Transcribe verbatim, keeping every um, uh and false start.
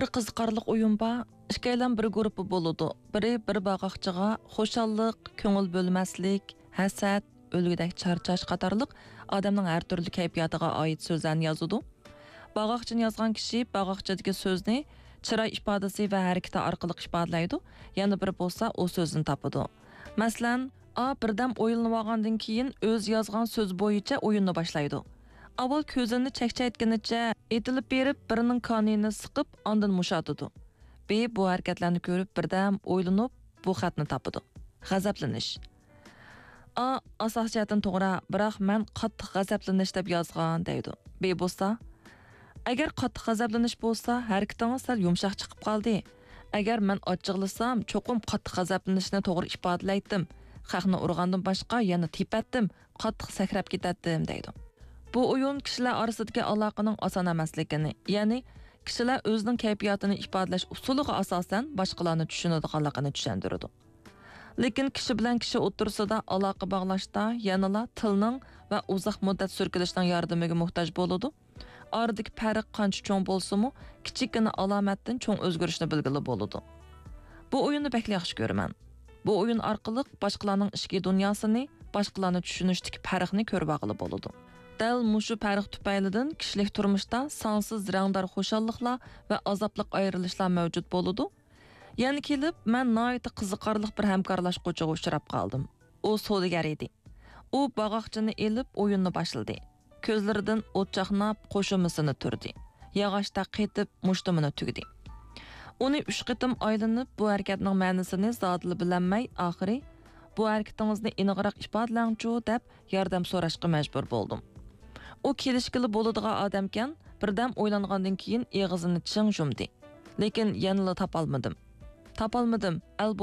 بىر قىزىقارلىق ئويۇن بار. ئىككىيلەن بىر گۇرۇپپا بولىدۇ. بىرى بىر باغاقچىغا خۇشاللىق، كۆڭۈل بۆلمەسلىك، ھەسەت، ئۆلگۈدەك چارچاش قاتارلىق ئادەمنىڭ ھەر تۈرلۈك كەيپىياتىغا ئائىت سۆزلەرنى يازىدۇ. باغاقچىنى يازغان كىشى باغاقچىدىكى سۆزنى چىراي ئىپادىسى ۋە ھەرىكىتى ئارقىلىق ئىپادىلەيدۇ. يەنە بىرى بولسا ئۇ سۆزنى تاپىدۇ. مەسىلەن، ئا بىردەم ئويلىنىۋالغاندىن كېيىن ئۆزى يازغان سۆز بويىچە ئويۇننى باشلايدۇ. ئاۋۋال كۆزىنى چەكچەيتكىنىچە ئېتىلىپ بېرىپ، بىرىنىڭ كانىيىنى سىقىپ، ئاندىن مۇشاتىدۇ. بى بۇ ھەرىكەتلەرنى كۆرۈپ، بىردەم ئويلىنىپ، بۇ خەتنى تاپىدۇ. غەزەپلىنىش. ئا ئاساسىي جەھەتتىن توغرا، بىراق مەن قاتتىق غەزەپلىنىش دەپ يازغان دەيدۇ. بى بولسا، ئەگەر قاتتىق غەزەپلىنىش بولسا، ھەرىكىتىڭىز سەل يۇمشاق چىقىپ قالدى. ئەگەر مەن ئاچچىقلىسام، چوقۇم قاتتىق غەزەپلىنىشنى توغرا ئىپادىلەيتتىم. خەقنى ئۇرغاندىن باشقا يەنە تېپەتتىم، قاتتىق سەكرەپ كېتەتتىم دەيدۇ. بۇ ئويۇن كىشىلەر ئارىسىدىكى ئالاقىنىڭ ئاسان ئەمەسلىكىنى، يەنى كىشىلەر ئۆزىنىڭ كەيپىياتىنى ئىپادىلەش ئۇسۇلىغا ئاساسەن باشقىلارنى چۈشىنىدىغانلىقىنى چۈشەندۈرىدۇ. لېكىن كىشى بىلەن كىشى ئوتتۇرىسىدا ئالاقە باغلاشتا يەنىلا تىلنىڭ ۋە ئۇزاق مۇددەت سۈركىلىشنىڭ ياردىمىگە موھتاج بولىدۇ. ئارىدىكى پەرق قانچە چوڭ بولسىمۇ، كىچىككىنە ئالامەتتىن چوڭ ئۆزگىرىشنى بىلگىلى بولىدۇ. بۇ ئويۇننى بەك ياخشى كۆرىمەن. بۇ ئويۇن ئارقىلىق باشقىلارنىڭ ئىچكى دۇنياسىنى، باشقىلارنى چۈشىنىشتىكى پەرقنى كۆرۈۋالغىلى بولىدۇ. دەل مۇشۇ پەرق تۈپەيلىدىن كىشىلىك تۇرمۇشتا سانسىز رەڭدار خۇشاللىقلار ۋە ئازابلىق ئايرىلىشلار مەۋجۇت بولىدۇ. يەنە كېلىپ، مەن ناھايىتى قىزىقارلىق بىر ھەمكارلاشقۇچىغا ئۇچراپ قالدىم. ئۇ سودىگەر ئىدى. ئۇ باغاقچىنى ئېلىپ ئويۇننى باشلىدى. كۆزلىرىدىن ئوت چاقناپ، قوشۇمىسىنى تۈردى. ياغاچتەك قېتىپ، مۇشتۇمىنى تۈگدى. ئۇنى ئۈچ قېتىم ئايلىنىپ، بۇ ھەرىكەتنىڭ مەنىسىنى زادىلا بىلەلمەي، ئاخىرى، بۇ ھەرىكىتىڭىزنى ئېنىقراق ئىپادىلەڭچۇ، دەپ ياردەم سوراشقا مەجبۇر بولدۇم. ئۇ كېلىشكىلى بولىدىغان ئادەمكەن، بىردەم ئويلانغاندىن كېيىن ئېغىزىنى چىڭ يۇمدى. لېكىن يەنىلا تاپالمىدىم. تاپالمىدىم، ئەل